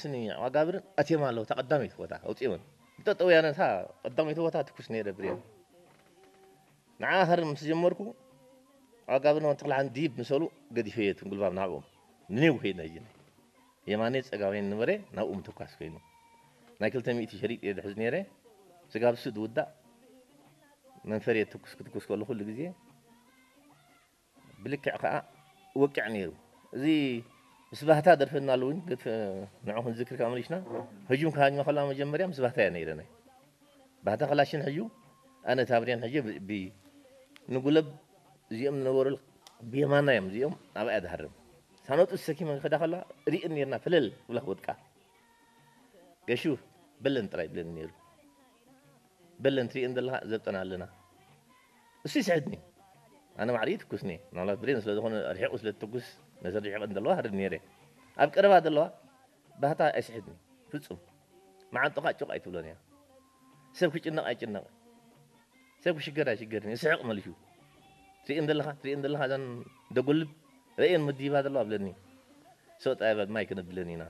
ስኒ ዋጋብርን ኣትዮም ኣለዉ። እታ ቀዳመይቲ ቦታ ኣውፅኦን። እታ ጠውያነ እታ ቀዳመይቲ ቦታ ትኩስ ነይረ ብሬን። ንዓ ሃር ምስ ጀመርኩ፣ ዋጋብርን ወንተኽልሃን ዲብ ምሰሉ ገዲፈዮ እቱን ጉልባብ ናብኦም። ንኔው ከይድና ሂጂ። የማነይ ጸጋመይን ንበረ ናብኡ ምትኳስ ኮይኑ። ናይ ክልተ ሚእቲ ሸሪጥ እየ ዝሕዝ ነይረ። ስጋብ እሱ ዝውዳእ መንፈር እየ ትኩስ ክትኩስ ከሎ ኩሉ ግዜ ብልክዕ ከኣ ወቅዕ ነይሩ። እዚ ምስ ባህታ ደርፈና ኣለዉ፣ ግን ገት-፣ ንዑ ክንዝክር ከኣ መሊሽና። ህጁም ክሃጅማ ከላ መጀመርያ ምስ ባህታ እያ ነይረ ናይ። ባህታ ከላሽን ሕዩ፣ ኣነ ታብርያን ሕዩ ብ-፣ ብ-፣ ንጉለብ እዚኦም ዝነበሩ ብየማና እዮም፣ እዚኦም ኣብኣ እያ ዝሃርም። ሳኖጡ ዝሰኪመ ክዳ ከላ ሪእን ነርና፣ ፍልል ብላ ክወድቃ። ገሹ በለን ጥራይ ብለን ነይሩ። በለን ትሪእን ዘለኻ ዘብጠና ኣለና። እሱ ይስሕድኒ። ኣነ ማዕሪ ትኩስኒ። ምናልባት ብሬን ስለ ዝኾነ ርሒቑ ስለ ትኩስ፣ ነዘን ርሒቐን ዘለዋ ሃርድ ነይረ። ኣብ ቀረባ ዘለዋ ባህታ ኣይስሕድኒ። ፍጹም። መዓንጥኻ ጩቕ ኣይትብሎን እያ። ሰብ ክጭነቕ ኣይጭነቕ። ሰብ ክሽገር ኣይሽገርን። ይስሕቕ መሊሹ። ትሪእን ዘለኻ፣ ትሪእን ዘለኻ እዘን ደጎልብ ረእየን መዲባ ዘለዋ ብለኒ። ሰው ጣይ በል ማይ ክነብለን ኢና።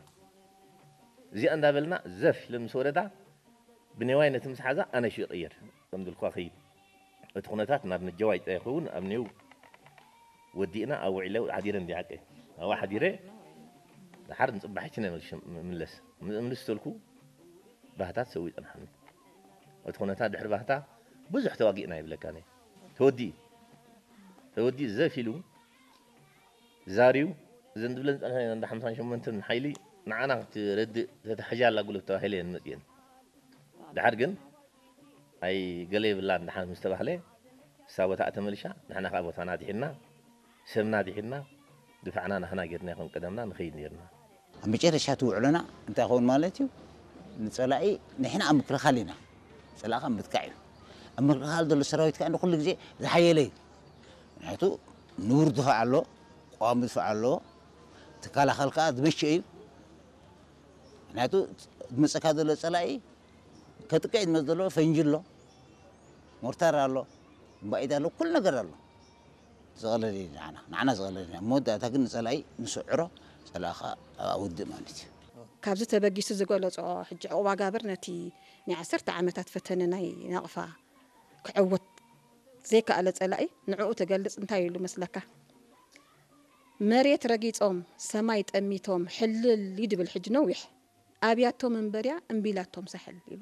እዚኣ እንዳበልና ዘፍ ኢለ ምስ ወረዳ ብኔዋይ ነቲ ምስ ሓዛ ኣነ ሽዑ ይቕየር። ከም ድልኳ ኸይድ። እቲ ኩነታት ናብ ነጀዋይ ጥራይ ይኸውን፣ ኣብ ኔው ወዲእና ኣብ ውዒለ ሓዲረ እንዲ ዓቀ። ኣብኣ ሓዲረ፣ ደሓር ንጽባሕ ችነ መልሽ-፣ ምለስ። ምልስ ተልኩ፣ ባህታት ሰው ይጸንሓኒ። እቲ ኩነታት ድሕሪ ባህታ ብዙሕ ተዋጊእና ይብለካ ነ። ተወዲኡ። ተወዲኡ ዘፍ ኢሉ፣ ዛርዩ፣ እዘን ዝብለን ዝጸንሐ እንዳ ሓምሳን ሸሞንተን ሓይሊ ንዓና ክትረድእ ተታሕዣ ኣላ ጉልበት ተባሂለ እየን መጽየን። ደሓር ግን ኣይ ገለ የብላን ደሓን ምስ ተባህለ፣ እሳ ቦታኣ ተመሊሻ፣ ንሕና ከኣ ቦታና ኣድሒንና፣ ሰብና ኣድሒንና፣ ድፋዕና ናህና ጌርና ከም ቀደምና ንኸይድ ኔርና። ኣብ መጨረሻ እቲ ውዕሎና እንታይ ይኸውን ማለት እዩ? ንጸላኢ ንሕና ኣብ ምክልኻል ኢና። ጸላኢ ከኣ ምጥቃዕ እዩ። ኣብ ምክልኻል ዘሎ ሰራዊት ከኣ ኩሉ ግዜ ዝሓየለ እዩ። ምክንያቱ ንቡር ድፋዕ ኣሎ፣ ቀዋሚ ድፋዕ ኣሎ፣ ትከላኸል ከኣ ዝመቸ እዩ። ምክንያቱ ዝመጸካ ዘሎ ጸላኢ ከጥቅዕ ዝመጽእ ዘሎ ፈንጂ ኣሎ፣ ሞርታር ኣሎ፣ ባኢት ኣሎ፣ ኩሉ ነገር ኣሎ። ዝቐለል እዩ ንዓና፣ ንዓና ዝቐለል እዩ። ኣብ መወዳእታ ግን ንጸላኢ ንስዕሮ፣ ጸላኢ ከኣ ኣብኣ ውድእ ማለት እዩ። ካብዚ ተበጊሱ ዝገለጾ ሕጂ ዕቑባ ጋብር ነቲ ናይ ዓሰርተ ዓመታት ፈተነ ናይ ናቕፋ ክዕወት ዘይከኣለ ጸላኢ ንዕኡ ትገልጽ እንታይ ኢሉ መስለካ? መሬት ረጊጾም ሰማይ ጠሚቶም ሕልል ይድብል ሕጂ ነዊሕ ኣብያቶም እምበርያ እምቢላቶም ሳሕል ኢሉ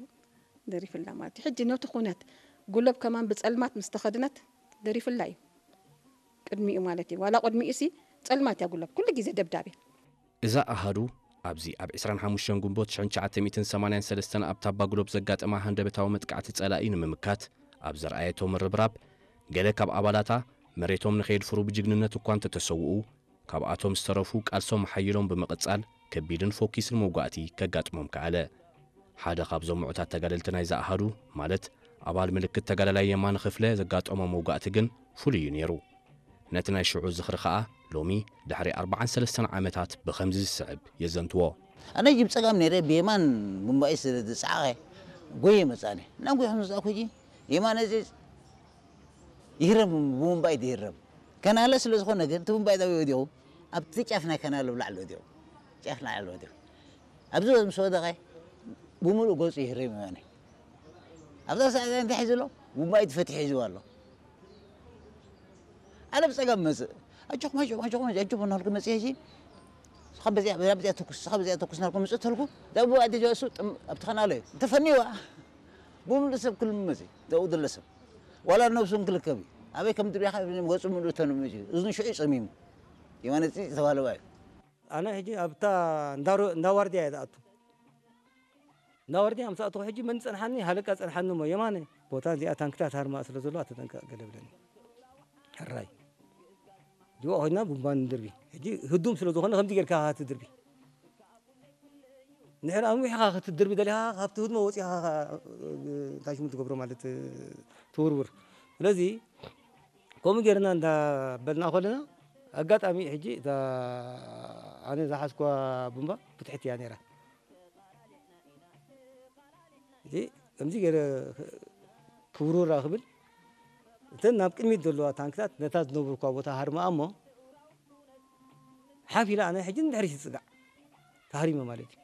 ደሪፍላ ማለት እዩ። ሕጂ ነቲ ኩነት ጉለብ ከማን ብጸልማት ምስ ተኸድነት ደሪፍላ እዩ። ቅድሚኡ ማለት እዩ። ዋላ ቅድሚኡ ሲ ጸልማት እያ ጉለብ። ኩሉ ግዜ ደብዳቤ። እዛ ኣሃዱ ኣብዚ ኣብ ዕስራን ሓሙሽተን ግንቦት ሽሕን ትሽዓተ ሚእትን ሰማንያን ሰለስተን ኣብ ታባ ጉለብ ዘጋጠማ ሃንደበታዊ መጥቃዕቲ ጸላኢ ንምምካት ኣብ ዘርኣየቶ ምርብራብ፣ ገለ ካብ ኣባላታ መሬቶም ንኸየድፍሩ ብጅግንነት እኳ እንተተሰውኡ፣ ካብኣቶም ዝተረፉ ቃልሶም ሓይሎም ብምቕጻል ከቢድን ፎኪስን መውጋእቲ ከጋጥሞም ከኣለ። ሓደ ካብዞም ምዑታት ተጋደልቲ ናይዛ ኣሃዱ፣ ማለት ኣባል ምልክት ተጋዳላይ የማነ ክፍለ ዘጋጠሞ መውጋእቲ ግን ፍሉይ እዩ ነይሩ። ነቲ ናይ ሽዑ ዝኽሪ ኸኣ ሎሚ ድሕሪ ኣርብዓን ሰለስተን ዓመታት ብኸምዚ ዝስዕብ የዘንትዎ። ኣነ ጅብ ጸጋም ነይረ፣ ብየማን ቡምባይ ስለ ዝጸዓቐ ጎየ መጻኒ። እናጎየ ከም ዝመጻእኩ ሕጂ የማነ እዚ ይህረም፣ ብቡምባይ ይህረም። ከናለ ስለ ዝኾነ ግን እቲ ቡምባይ ጣብያ ወዲቑ ኣብቲ ጫፍ ናይ ከናለ ብላዕሊ ወዲቑ። ጫፍ ላዕሊ ወዲቑ። ኣብዚ ምስ ወደቐ ብምሉእ ገጹ ይህረም የማነ። ኣብዛ ሰዓት እንታይ ሒዙ ኣሎ? ቡምባይ ፈትሒ ሒዝዎ ኣሎ። ኣነ ብጸጋም መጽእ። ኣጆኹም፣ ኣጆኹም፣ ኣጆኹም፣ ኣጆኹም እናበልኩ መጽእ ሕጂ። ንስኻ በዚኣ፣ በዚኣ፣ በዚኣ ተኩስ፣ ንስኻ በዚኣ ተኩስ እናበልኩ መጽእ ተልኩ። እዛ ቡምባይ ደጃ እሱ ጥም-፣ ኣብቲ ከናለ እዩ። ተፈንይዋ። ብምሉእ ሰብ ክልምመጽ እዩ። ኣብኡ ዘሎ ሰብ። ዋላ ነብሱ እውን ክልከብ እዩ። ኣበይ ከም ድርያኻ ገጹ ምሉእ ተንምጽ እዩ። እዝኑ ሽዑ እዩ ጸሚሙ። የማነ ጽ-፣ ዝተባህለ እዩ። ኣነ ሕጂ ኣብታ እንዳሮ-፣ እንዳዋርድያ እየ ዝኣቱ። እንዳዋርድያ ምስ ኣተኹ ሕጂ መን ጸንሓኒ? ሃለቃ ጸንሓኒ እሞ፣ የማነ፣ ቦታ እዚኣ ታንክታት ሃርማ ስለ ዘለዋ ተጠንቀቕ ገለ ብለኒ። ሕራይ። ጅዋ ኮይና ቡምባ ንድርቢ። ሕጂ ህዱም ስለ ዝኾነ ከምዚ ጌርካ ኢኻ ትድርቢ። እንድሕር ኣንዊሕኻ ክትድርቢ ደሊኻ፣ ካብቲ ህድሞ ወጺኻ፣ እንታይ ሽሙ ትገብሮ ማለት፣ ትውርውር። ስለዚ፣ ከምኡ ጌርና እንዳበልና ከለና፣ ኣጋጣሚ ሕጂ እታ ኣነ ዝሓዝኳ ቡምባ ብትሕቲ እያ ነይራ። ሕጂ ከምዚ ገይረ ክውርውራ ክብል፣ እተን ናብ ቅድሚት ዘለዋ ታንክታት ነታ ዝነብርኳ ቦታ ሃርማኣ እሞ፣ ሓፍ ኢለ ኣነ ሕጂ ንድሕሪት ይጽጋዕ። ተሃሪመ ማለት እዩ።